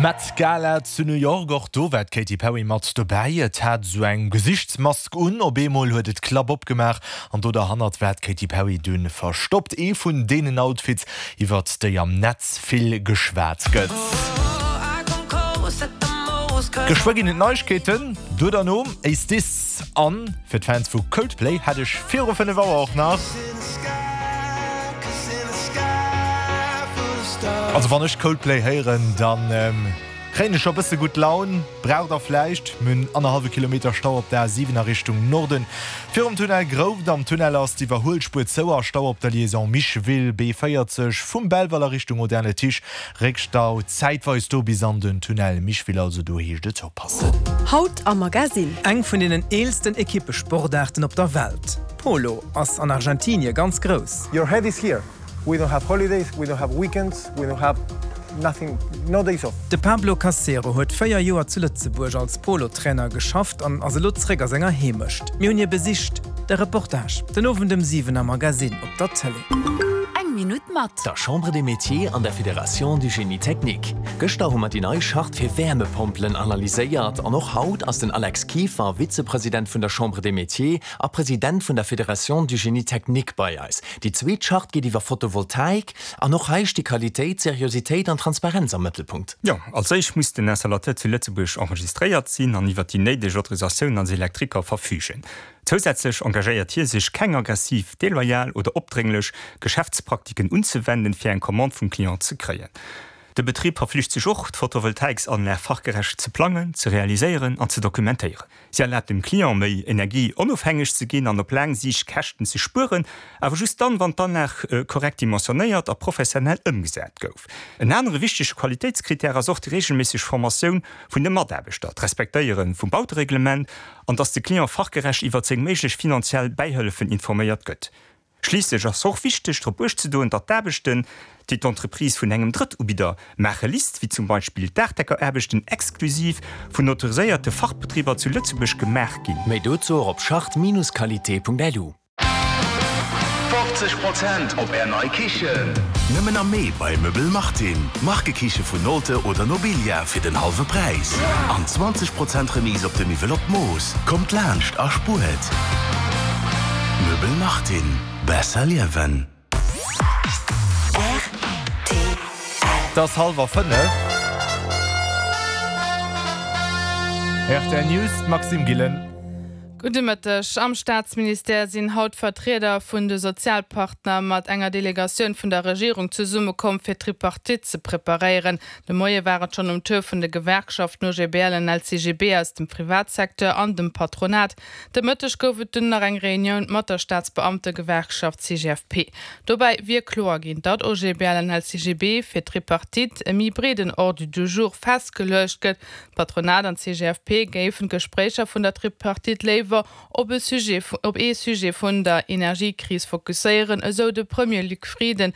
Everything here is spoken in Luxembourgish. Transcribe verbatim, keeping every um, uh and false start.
Met Gala zu New York, och do war d'Katy Perry mat dobäi. Et hat sou eng Gesichtsmask un, op eemol huet et d'Klapp opgemaach an do derhannert war d'Katy Perry dunn verstoppt. Ee vun deenen Outfits, iwwert déi am Netz vill geschwat gëtt. Geschwë ginn et Neiegkeeten, do derno Is This an fir d'Fans vu Coldplay hätt ech viru fënnef Auer och nach. Also wann ech Coldplay héieren, dann kréien ech scho bësse gutt Laun. Braucht der vläicht. Mir hunn annerhallwe Kilometer Stau op der A siwen a Richtung Norden. Virum Tunnel Grouft am Tunnel ass d'Iwwerhuelspuer zou a Stau op der Liaison Micheville, B véierzeg vum Belval a Richtung Audun-le-Tiche. Réckstau zäitweis do bis an den Tunnel Micheville, also do heescht et oppassen. Haut am Magazine. Eng vun deenen eelsten Ekippesportaarten op der Welt, Polo, ass an Argentinie ganz grouss. Your head is here. We don't have holidays, we don't have weekends, we don't have nothing, no days off. De Pablo Casero huet véier Joer zu Lëtzebuerg als Polo-Trainer geschafft an ass elo zréck a senger Heemecht. Mir hunn hie besicht. De Reportage den Owend ëm siwen am Magazine op der Tëlee. Eng Minutt mat. Der Chambre des Métiers an der Fédération du Génie Technique. Gëschter hu mer déi nei Charte fir Wäermepompelen analyséiert an och haut ass den Alex Kieffer, Vizepresident vun der Chambre des Métiers a President vun der Fédération du Génie Technique bei eis. Déi zweet Charte geet iwwer Photovoltaik an och hei sti Qualitéit, Seriositéit an Transparenz am Mëttelpunkt. Jo, als éischt muss den Installateur zu Lëtzebuerg enregistréiert sinn an iwwer déi néideg Autorisatiounen als Elektriker verfügen. Zousätzlech engagéiert hie sech, keng aggressiv, deloyal oder opdrénglech Geschäftspraktiken unzewenden, fir eng Commande vum Client ze kréien. De Betrib verflicht sech och, d'Photovoltaiksanlag fachgerecht ze plangen, ze realiséieren an ze dokumentéieren. Si erlaabt dem Client, méi energieonofhängeg ze ginn an op laang Siicht Käschten ze spueren, awer just dann, wann d'Anlag korrekt dimensionéiert a professionell ëmgesat gouf. En anere wichtege Qualitéitskrittär ass och déi reegelméisseg Formatioun vun de Mataarbechter, d'Respektéiere vum Bautereglement an dass de Client fachgerecht iwwert seng méiglech finanziell Bäihëllefen informéiert gëtt. Schliisslech ass och wichteg drop uecht ze doen, datt d'Aarbechten, déi d'Entreprise vun engem Drëttubidder maache lisst, wéi zum Beispill d'Daachdeckeraarbechten, exklusiv vun autoriséierte Fachbetriber zu Lëtzebuerg gemaach ginn. Méi dozou och op charte-qualité.lu. Fofzeg Prozent op Är nei Kichen! Nëmmen am Mee bei Möbel Martin. Markekiche vun Nolte oder Nobilia fir den hallwe Präis an zwanzeg Prozent Remise op de Miwwel op d'Mooss. Kommt laanscht a spuert! Möbel Martin, besser liewen! R T L. Et ass hallwer fënnef. R T L News, d'Maxime Gillen. Gudde Mëtteg. Am Staatsministère sinn haut Vertrieder vun de Sozialpartner mat enger Delegatioun vun der Regierung zesummekomm, fir d'Tripartite ze preparéieren. De Moie war et schonn um Tour vun de Gewerkschaften O G B L an L C G B aus dem Privatsecteur an dem Patronat. De Mëtteg gouf et dunn nach eng Reunioun mat der Staatsbeamtegewerkschaft C G F P. Dobäi wier kloer ginn, datt O G B L an L C G B fir d'Tripartite e méi breeden Ordre du jour festgeluecht gëtt. D'Patronat an d'C G F P géifen d'Gespréicher vun der Tripartite léiwer op e Sujet op ee Sujet vun der Energiekris fokusséieren, esou de Premier Luc Frieden.